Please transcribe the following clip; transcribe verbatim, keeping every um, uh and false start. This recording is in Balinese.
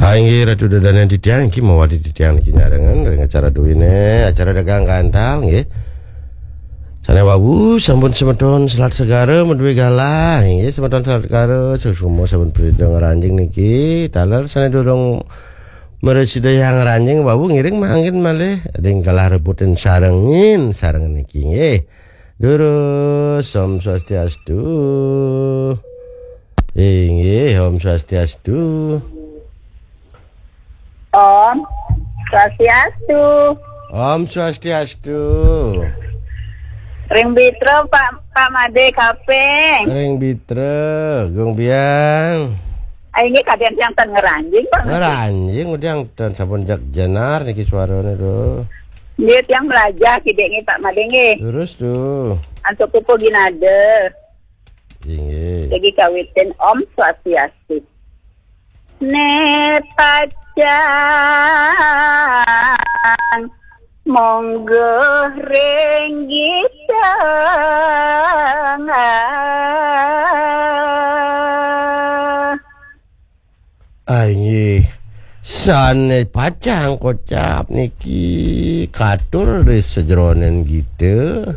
Ah, inggih, Ratu Dadanan titiang, iki mawali titiang niki nyarengan ring acara duwene, acara dagang gantal nggih. Sane wau sampun semeton selat segara maduwe galah, inggih, semeton selat segara sesama sampun prida ngranjing niki, taler sane durung mresida yang ngranjing wau ngiring mangkin malih ring galah rebutin sarengin, sareng niki nggih. Durus, Om Swastiastu. Inggih, Om Swastiastu. Om Swastiastu. Om Swastiastu. Ring Bitra, Pak, Pak Made Kaping. Ring Bitra, Gung Biang. Ah, inggih, kadang tiang ten ngranjing, Pak Made. Ngranjing, udah ten sampun jak jenar niki suarane lho. Nggih, tiang melajah kidik nggih, Pak Made nggih. Terus tuh. Antuk pupuh ginada. Inggih. Lagi kawitin Om Swastiastu. Ne pacang monggo ring gidang. Ah, inggih. Sane pacang kocap niki katur ri sajeroning gita.